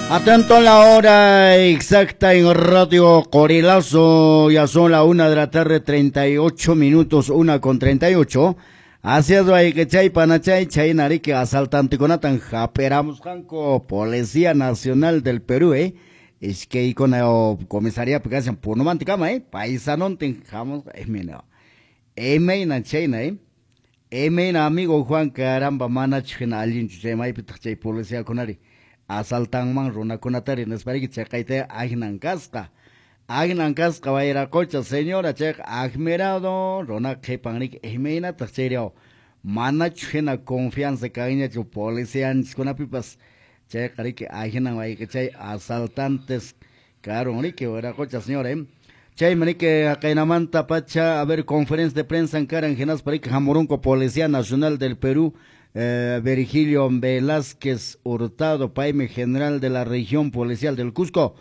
Atento a la hora exacta en Radio Corilazo, ya son la 1 de la tarde, 38 minutos, 1:38. Hacia que chay panachay, chay nariki asaltantekunatan hap'iramusqanku Policía Nacional del Perú, iskaykuna comisaría kashan Punumantikama, paisanontin hamusqa, mira, imayna chayna, imayna amigo Juan, caramba, manachu hina allinchu chay maypitaq chay policiakunari asaltanman runakunatari nispariki chaqayta ahnan kasqa. Ahnan kasqa wayraqocha señora chayqa admirado runa qhipanriki imaynataq chayriaw manachu hina confianza kanñachu policianchiskunapipas chayqa riki ahinan wayqichay asaltantes karun riki wayraqocha señora, Chaymi riki haqaynamanta pacha a ver conferencia de prensa karan hinaspa riki hamurunku Policía Nacional del Perú, Virgilio Velázquez Hurtado, paymi general de la región policial del Cusco.